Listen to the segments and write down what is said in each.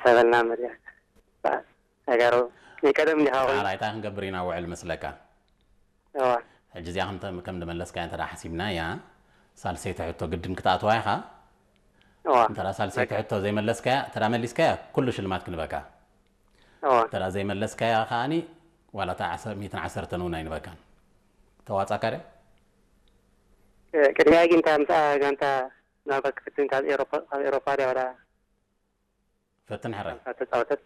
ተበልና መሪያ ተጋሩ ናይ ቀደም እንዲኻ ኮይኑ ራይታ ክንገብር ኢና ውዕል መስለካ። እዋ ሕጂ እዚኣ ከም ከም ዝመለስካያ እንተ ሓሲብናያ ሳልሰይቲ ሕቶ ግድን ክትኣትዋ ኢኻ። እዋ እንተ ሳልሰይቲ ሕቶ ዘይመለስካያ እንተ መሊስካያ ኩሉ ሽልማት ክንበካ። እዋ እንተ ዘይመለስካያ ከዓኒ ዋላ እታ ሚእትን ዓሰርተን እውን ኣይንበካን። ተዋፃካ ድያ? ቅድሚያ ግን እታ ምሳ ጋንታ ናባ ክፍትን ካብ ኤሮፓ ካብ ኤሮፓ ድያ ወላ ፈትን ሕራይ ተጻወተት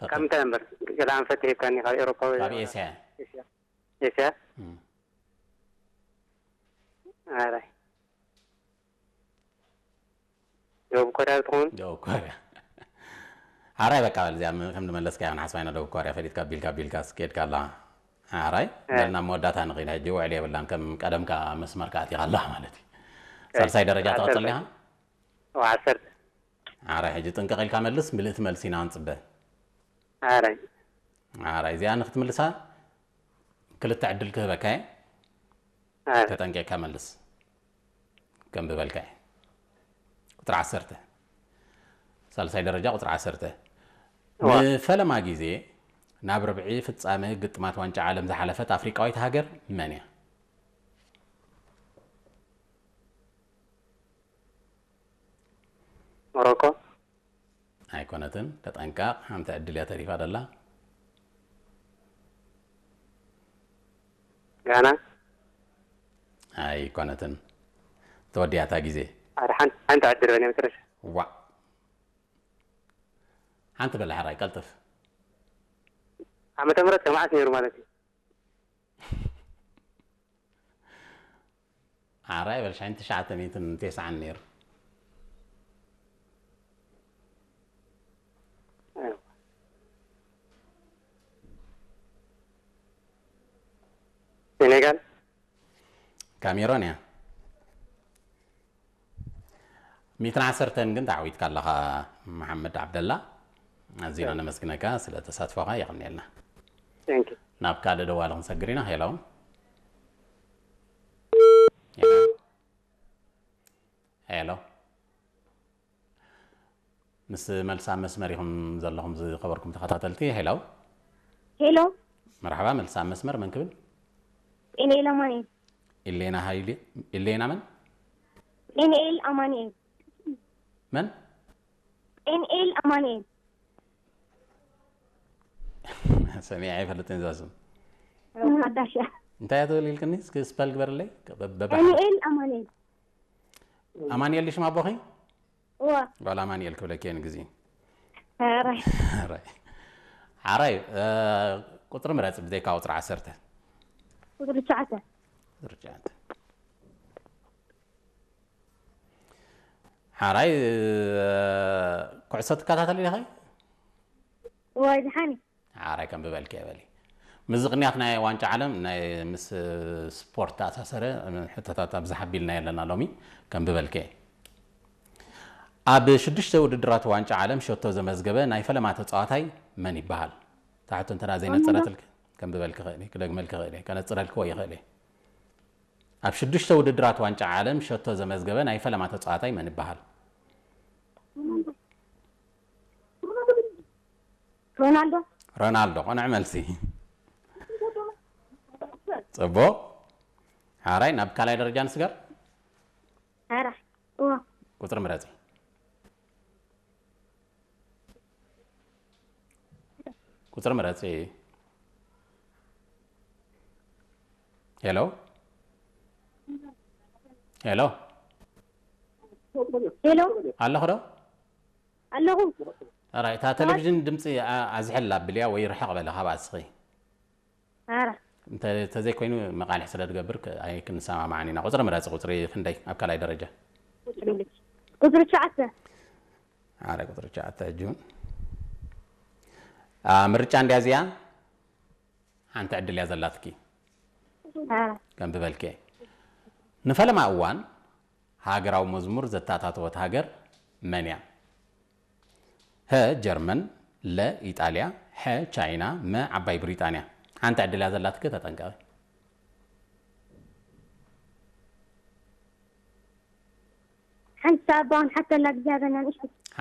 ካብ ፈትን ምንታይ ነበር ገለ ኣንፈት ሂብካኒ ካብ ኤሮፓ ወይ ካብ ኤስያ ኤስያ ኤስያ እም። ኣራይ ደቡብ ኮርያ ትኸውን ደቡብ ኮርያ ሓራይ በቃ በል እዚኣ ከም ዝመለስካ ኢና ሓስባ ኢና። ደቡብ ኮርያ ፈሊጥካ ቢልካ ቢልካ ስኬድካ ኣላ። ሓራይ በልና መወዳእታ ንኽእል። ሕጂ ውዕል የብላን ከም ቀደምካ መስመርካ ኣቲኻ ኣላ ማለት እዩ። ሳልሳይ ደረጃ ትቐፅል ኢኻ። ዓሰርተ ሓራይ ሕጂ ጥንቅቕ ኢልካ መልስ። ምልእቲ መልሲ ኢና ንፅበ። ኣራይ ሓራይ እዚኣ ንክትምልሳ ክልተ ዕድል ክህበካ እየ። ኣራይ ተጠንቂቕካ መልስ። ከም ዝበልካ እየ። ቁፅሪ ዓሰርተ ሳልሳይ ደረጃ ቁፅሪ ዓሰርተ እዋ። ንፈለማ ግዜ ናብ ርብዒ ፍጻመ ግጥማት ዋንጫ ዓለም ዝሓለፈት ኣፍሪቃዊት ሃገር መን እያ? ሞሮኮ ኣይኮነትን። ተጠንቀቕ፣ ሓንቲ ዕድል እያ ተሪፋ ደላ። ጋና ኣይኮነትን። ተወዲኣታ ግዜ። ኣረ ሓንቲ ሓንቲ ዕድል በለ መጨረሻ ዋ ሓንቲ በላ ሓራይ ቀልጥፍ። ዓመተ ምህረት ከመዓስ ነይሩ ማለት እዩ ሓራይ በል ሻን ትሽዓተ ሚእትን ተስዓን ነይሩ። ሴኔጋል ካሜሮን እያ። ሚእትን ዓሰርተን ግን ተዓዊትካ ኣለኻ መሓመድ ዓብደላ። ኣዚና ነመስግነካ ስለ ተሳትፎኻ የቐንየልና። ቴንክ ዩ ናብ ካልእ ደዋሊ ክንሰግር ኢና። ሄሎ ሄሎ ሄሎ ምስ መልሲ ኣብ መስመር ኢኹም ዘለኹም ዝኸበርኩም ተኸታተልቲ። ሄሎ ሄሎ መርሓባ። መልሲ ኣብ መስመር መን ክብል? ጤንኤል ኣማኑኤል ኢሌና ሃይሊ ኢሌና መን? ጤንኤል ኣማኑኤል መን? ጤንኤል ኣማኑኤል ሰሚዐ ኣይፈልጥን እዛ ስም። ሓዳሽ እያ እንታይ እያ ትብል ኢልክኒ? እስኪ ስፐል ግበርለይ። በ- በ- ዳንኤል ኣማኑኤል ኣማኑኤል ድዩ ሽም ኣቦኺ? እዋ ጓል ኣማኑኤል ክብለኪ እየ ንግዜ። ኧረ ሓራይ ሓራይ እ፣ ቁፅሪ ምረፂ ብዘይካ ቁፅሪ ዓሰርተ። ቁፅሪ ትሽዓተ ቁፅሪ ትሽዓተ። ሓራይ እ፣ ኩዕሶ ትከታተል ኢኻ? እዋ ዝሓኒ ሓራይ ከም ብበልኪ እየ በሊ። ምዝቕንያት ናይ ዋንጫ ዓለም ናይ ምስ ስፖርት ተኣሳሰረ ሕቶታት ኣብዚ ሓቢልና ኣለና ሎሚ። ከም ብበልኪ እየ። ኣብ ሽዱሽተ ውድድራት ዋንጫ ዓለም ሸቶ ዘመዝገበ ናይ ፈለማ ተፃዋታይ መን ይበሃል? ታሕቱ እንተ ዘይነፀረትልክ ከም ብበልክ ክእል እየ፣ ክደግመልክ ክእል እየ፣ ከነፅረልክዎ ይኽእል እየ። ኣብ ሽዱሽተ ውድድራት ዋንጫ ዓለም ሸቶ ዘመዝገበ ናይ ፈለማ ተፃዋታይ መን ይበሃል? ሮናልዶ ሮናልዶ። ቅኑዕ መልሲ። ፅቡቕ። ሓራይ ናብ ካልኣይ ደረጃ ንስገር። ኧረ እዋ ቁፅሪ ምረፂ። ቁፅሪ ምረፂ። ሄሎ ሄሎ ሄሎ ኣለኹ ዶ? ኣለኹ ራይ እታ ቴሌቪዥን ድምፂ ኣ- ኣዝሕላ ኣብልያ ወይ ርሕቕ በለ ካብ ኣስኺ። ኧረ እንተ- እንተዘይኮይኑ መቃልሕ ስለ ትገብር ክ- ኣይክንሰማማዕን ኢና። ቁፅሪ ምረፂ። ቁፅሪ ክንደይ ኣብ ካልኣይ ደረጃ? ቁፅሪ ትሽዓተ ኣረ ቁፅሪ ትሽዓተ ሕጂ እውን ኣ፣ ምርጫ እንድያ እዚኣ ሓንቲ ዕድል እያ ዘላትኪ። ኧረ ከም ዝበልከ ንፈለማ እዋን ሃገራዊ መዝሙር ዘተኣታተወት ሃገር መን እያ? ሀ ጀርመን፣ ለ ኢጣልያ፣ ሐ ቻይና፣ መ ዓባይ ብሪጣንያ። ሓንቲ ዕድል እያ ዘላትኪ ተጠንቀቂ። ሓንቲ ሳባውን ሓተላ ግዜ ሃበና ንእሽቶ